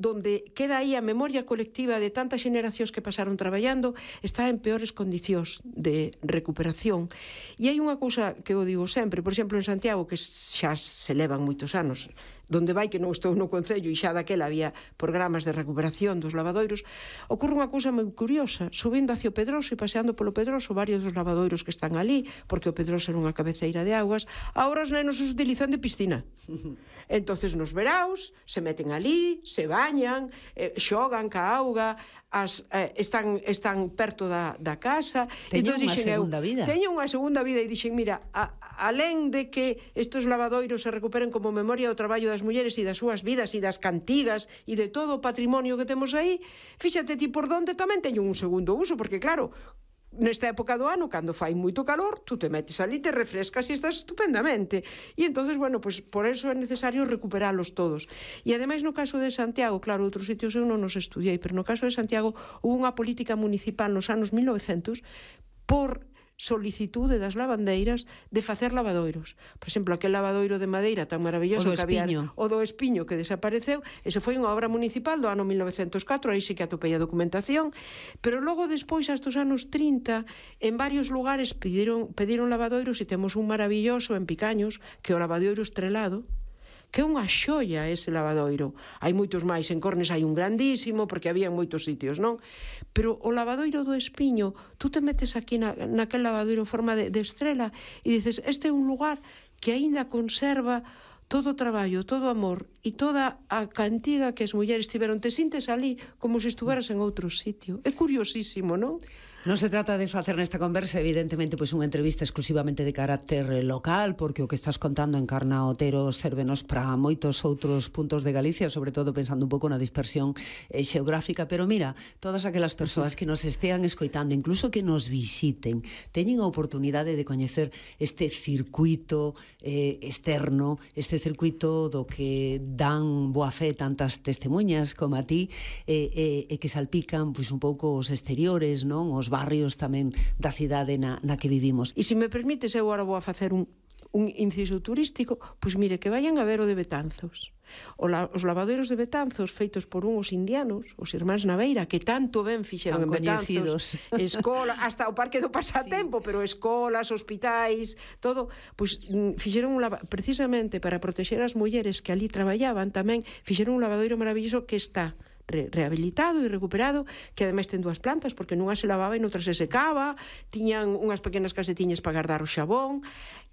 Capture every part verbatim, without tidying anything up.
donde queda aí a memoria colectiva de tantas xeneracións que pasaron traballando, está en peores condicións de recuperación. E hai unha cousa que eu digo sempre, por exemplo, en Santiago, que xa se levan moitos anos, donde vai que non estou no Concello e xa daquela había programas de recuperación dos lavadoiros, ocorre unha cousa moi curiosa, subindo hacia o Pedroso e paseando polo Pedroso, varios dos lavadoiros que están ali, porque o Pedroso era unha cabeceira de augas, agora os nenos os utilizan de piscina. Entonces nos veraos se meten ali, se bañan, eh, xogan ca auga, as, eh, están, están perto da, da casa. Teñen unha segunda eu, vida. Teñen unha segunda vida e dixen, mira, a, alén de que estes lavadoiros se recuperen como memoria do traballo das mulleres e das súas vidas e das cantigas e de todo o patrimonio que temos aí, fíxate ti por donde tamén teñen un segundo uso, porque claro, nesta época do ano, cando fai moito calor, tú te metes ali, te refrescas e estás estupendamente. E entonces, bueno, pues por eso é necesario recuperalos todos. E ademais no caso de Santiago, claro, outros sitios eu non os estudiei, pero no caso de Santiago hubo unha política municipal nos anos mil novecentos por solicitude das lavandeiras de facer lavadoiros. Por exemplo, aquel lavadoiro de madeira tan maravilloso que había, o do Espiño, que desapareceu, ese foi unha obra municipal do ano mil novecentos e catro, aí sí que atopei a documentación, pero logo despois, hasta os anos trinta, en varios lugares pediron, pediron lavadoiros e temos un maravilloso en Picaños, que é o lavadoiro estrelado, que é unha xoia ese lavadoiro. Hai moitos máis, en Cornes hai un grandísimo, porque había moitos sitios, non? Pero o lavadoiro do Espiño, tú te metes aquí na, naquel lavadoiro en forma de, de estrela e dices, este é un lugar que aínda conserva todo o traballo, todo o amor e toda a cantiga que as mulleres tiveron. Te sintes ali como se estuveras en outro sitio. É curiosísimo, non? Non se trata de facer nesta conversa, evidentemente, pois unha entrevista exclusivamente de carácter local, porque o que estás contando en Carna Otero sérvenos para moitos outros puntos de Galicia, sobre todo pensando un pouco na dispersión eh, xeográfica, pero mira, todas aquelas persoas que nos estean escoitando, incluso que nos visiten, teñen a oportunidade de coñecer este circuito eh, externo, este circuito do que dan boa fe tantas testemunhas como a ti, e eh, eh, que salpican pois un pouco os exteriores, non? Os barrios tamén da cidade na, na que vivimos. E se me permites, eu agora vou a facer un, un inciso turístico, pois mire, que vayan a ver o de Betanzos. O la, os lavadoiros de Betanzos feitos por uns indianos, os irmáns Naveira, que tanto ben fixeron en Betanzos, escola, hasta o Parque do Pasatempo, sí. Pero escolas, hospitais, todo, pois fixeron un lava, precisamente para protexer as mulleres que ali traballaban, tamén fixeron un lavadoiro maravilloso que está Re rehabilitado e recuperado, que ademais ten dúas plantas, porque nunha se lavaba e noutra se secaba, tiñan unhas pequenas casetiñas para guardar o xabón,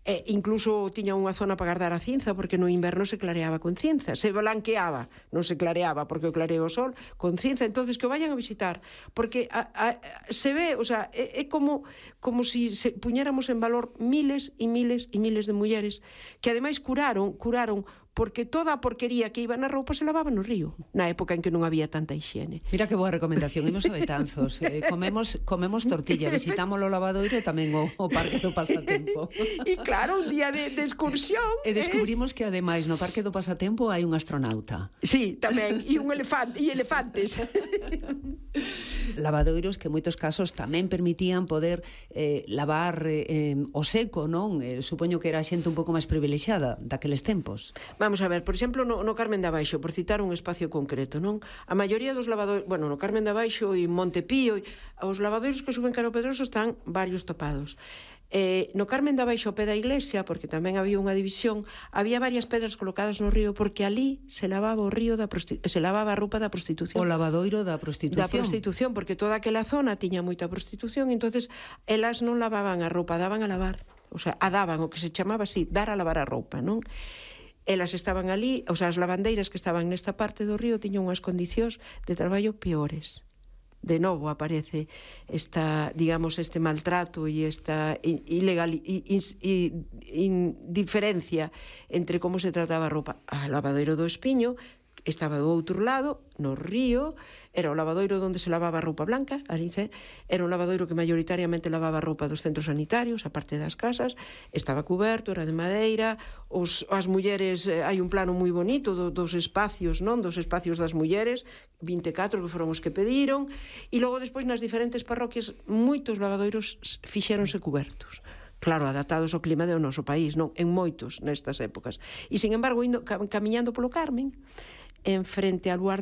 e incluso tiña unha zona para guardar a cinza, porque no inverno se clareaba con cinza, se blanqueaba, non se clareaba porque o clarea o sol, con cinza. Entonces que o vayan a visitar, porque a, a, se ve, o sea, é, é como como si se puñéramos en valor miles e miles e miles de mulleres que ademais curaron, curaron porque toda a porquería que iba na roupa se lavaba no río, na época en que non había tanta higiene. Mira que boa recomendación, imos a Betanzos, eh, comemos, comemos tortilla, visitamos o lavadoiro e tamén o, o Parque do Pasatempo. E claro, un día de, de excursión. E descubrimos eh? que ademais no Parque do Pasatempo hai un astronauta. Sí, tamén, e un elefante, e elefantes. Lavadoiros que en moitos casos tamén permitían poder eh, lavar eh, o seco, non? Eh, supoño que era a xente un pouco máis privilexiada daqueles tempos. Vamos a ver, por exemplo, no, no Carmen de Abaixo, por citar un espacio concreto, non? A maioría dos lavadoiros, bueno, no Carmen de Abaixo e Montepío, os lavadoiros que suben cara ao Pedroso están varios topados. Eh, no Carmen de Abaixo, ao pé da iglesia, porque tamén había unha división, había varias pedras colocadas no río, porque ali se lavaba o río da se lavaba a roupa da prostitución. O lavadoiro da prostitución. Da prostitución, porque toda aquela zona tiña moita prostitución, entonces elas non lavaban a roupa, daban a lavar. O sea, a daban, o que se chamaba así, dar a lavar a roupa, non? Elas estaban ali, o sea, as lavandeiras que estaban nesta parte do río tiñan unhas condicións de traballo peores. De novo aparece esta, digamos, este maltrato e esta ilegal e indiferencia entre como se trataba a roupa. A lavadeiro do Espiño estaba do outro lado, no río, era o lavadoiro onde se lavaba a roupa blanca, era un lavadoiro que maioritariamente lavaba a roupa dos centros sanitarios, a parte das casas, estaba cuberto, era de madeira, os, as mulleres, eh, hai un plano moi bonito do, dos espacios, non? Dos espacios das mulleres, vinte e catro que foron os que pediron, e logo despois nas diferentes parroquias moitos lavadoiros fixéronse cubertos. Claro, adaptados ao clima do noso país, non? En moitos nestas épocas. E, sin embargo, indo, camiñando polo Carmen, en frente ao lugar do